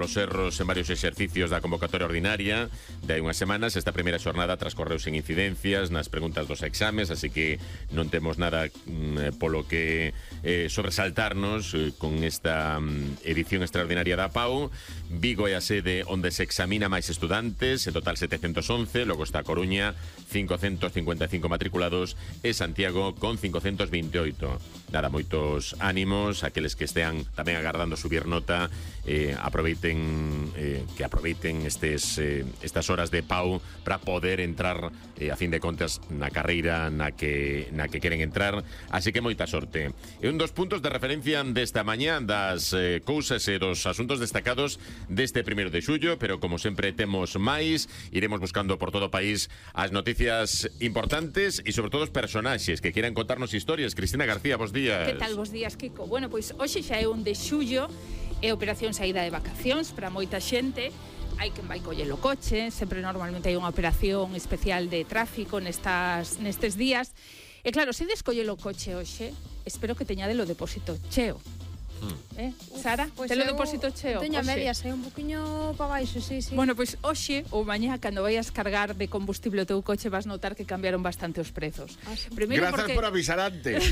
Los Serros en varios exercicios da convocatoria ordinaria de hai unhas semanas. Esta primeira xornada transcorreu sen incidencias nas preguntas dos exames, así que non temos nada polo que sobresaltarnos con esta edición extraordinaria da PAU. Vigo é a sede onde se examina máis estudantes, en total 711, logo está a Coruña, 555 matriculados, e Santiago con 528. Nada, moitos ánimos, aqueles que estean tamén agardando subir nota, aproveiten estas horas de PAU para poder entrar a fin de contas na carreira na que queren entrar, así que moita sorte. E un dos puntos de referencia desta mañá das cousas e dos asuntos destacados deste 1 de xullo, pero como sempre temos máis, iremos buscando por todo o país as noticias importantes e sobre todo os personaxes que quieran contarnos historias. Cristina García, bos días. Que tal, bos días, Kiko? Bueno, pois hoxe xa é 1 de xullo. É operación saída de vacacións para moita xente. Hai quen vai coller o coche, sempre normalmente hai unha operación especial de tráfico nestes días. E claro, se descolle o coche hoxe, espero que teñade o depósito cheo. Sara, pues telo depósito cheo? Teño a medias, un poquinho para baixo, sí. Bueno, pois hoxe ou mañá, cando vayas cargar de combustible o teu coche, vas notar que cambiaron bastante os prezos. Primeiro gracias por avisar antes.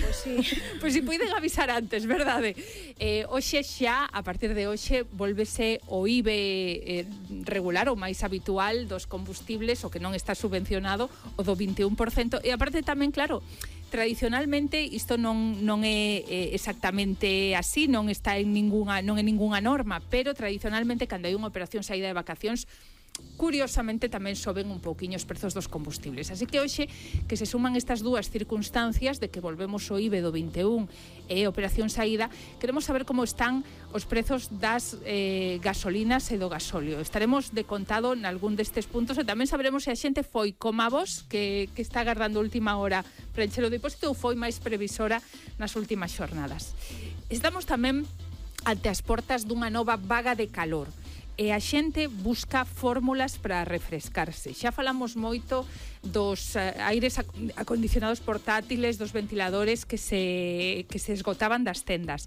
Pois si puiden avisar antes, verdade? Hoxe xa, a partir de hoxe, volvese o IBE regular, o máis habitual dos combustibles, o que non está subvencionado, o do 21%, e aparte tamén, claro, tradicionalmente isto non é exactamente así, non é ningunha norma, pero tradicionalmente cando hai unha operación saída de vacacións, curiosamente tamén soben un pouquiño os prezos dos combustibles. Así que hoxe que se suman estas dúas circunstancias de que volvemos o IBE do 21 e operación saída, queremos saber como están os prezos das gasolinas e do gasóleo. Estaremos de contado nalgún destes puntos e tamén saberemos se a xente foi como a vos que está agardando a última hora para encher o depósito ou foi máis previsora nas últimas xornadas. Estamos tamén ante as portas dunha nova vaga de calor. E a xente busca fórmulas para refrescarse. Xa falamos moito dos aires acondicionados portátiles, dos ventiladores que se esgotaban das tendas.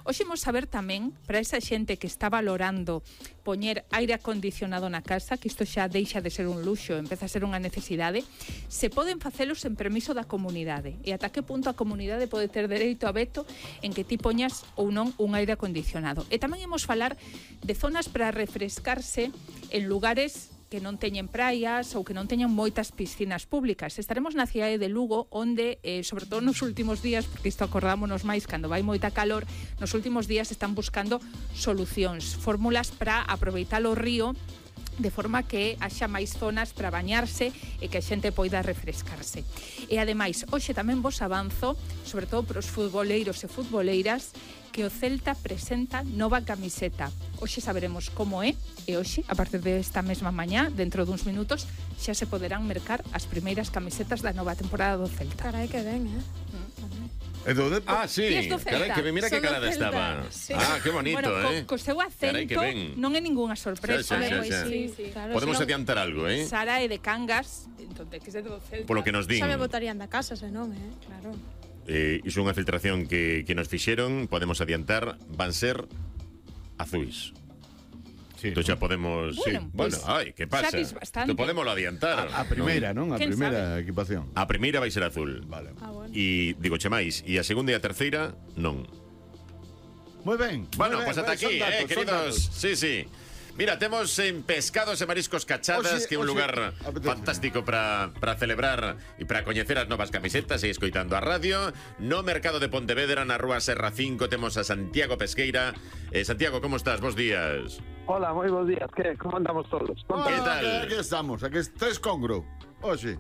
Hoxe imos saber tamén, para esa xente que está valorando poñer aire acondicionado na casa, que isto xa deixa de ser un luxo, empeza a ser unha necesidade, se poden facelos en permiso da comunidade. E ata que punto a comunidade pode ter dereito a veto en que ti poñas ou non un aire acondicionado. E tamén imos falar de zonas para refrescarse en lugares que non teñen praias ou que non teñen moitas piscinas públicas. Estaremos na cidade de Lugo, onde, sobre todo nos últimos días, porque isto acordámonos máis cando vai moita calor, nos últimos días están buscando solucións, fórmulas para aproveitar o río de forma que haxa máis zonas para bañarse e que a xente poida refrescarse. E ademais, hoxe tamén vos avanzo, sobre todo para os futboleiros e futboleiras, que o Celta presenta nova camiseta. Hoxe saberemos como é, e hoxe, a partir desta mesma mañá, dentro duns minutos, xa se poderán mercar as primeiras camisetas da nova temporada do Celta. Carai, que ben, sí, carai, que mira que calada estaba. Sí. Que bonito, bueno, co seu acento non é ningunha sorpresa. Sí. Claro, podemos adiantar algo, Sara é de Cangas, entón que é do Celta. Polo que nos din. Xa me botarían da casa, senón, claro. Iso é unha filtración que nos fixeron, podemos adiantar, van ser azuis. Sí, entón xa podemos... Bueno, que pasa? Entón podémoslo adiantar. A primeira, non? A primeira equipación. A primeira vai ser azul. Vale. Bueno. E digo che máis, e a segunda e a terceira, non. Moi ben. Bueno, pois ata aquí, queridos. Sí. Mira, temos en Pescados e Mariscos Cachadas, que é un lugar fantástico para celebrar e para coñecer as novas camisetas e escoitando a radio. No Mercado de Pontevedra, na Rúa Serra 5, temos a Santiago Pesqueira. Santiago, como estás? Bos días. Hola, moi bons días. Como andamos todos? Que tal? Aquí estamos, aquí estáis congro. Oxe.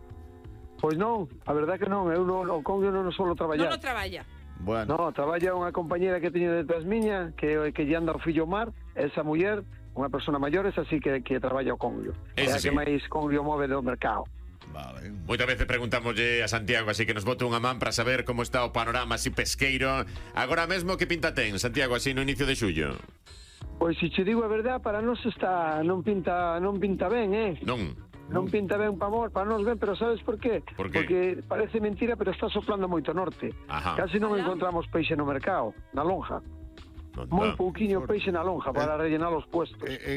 Pois non, a verdade que non. Eu o congro non solo traballar. Non traballa. Bueno. No, traballa unha compañera que teño detrás miña, que lle anda o fillo Mar, esa muller, unha persona maiores, así que traballa o congrio. É a que máis congrio move do mercado. Vale. Moitas veces preguntámoslle a Santiago, así que nos bote unha man para saber como está o panorama así pesqueiro. Agora mesmo que pinta ten, Santiago, así no inicio de xullo? Pois se che digo a verdade, para nós non pinta ben, Non pinta ben para nós ben, pero sabes por qué? Porque parece mentira, pero está soplando moito norte. Casi non encontramos peixe no mercado, na lonja. Moi pouquiño peixe na lonja para rellenar os puestos.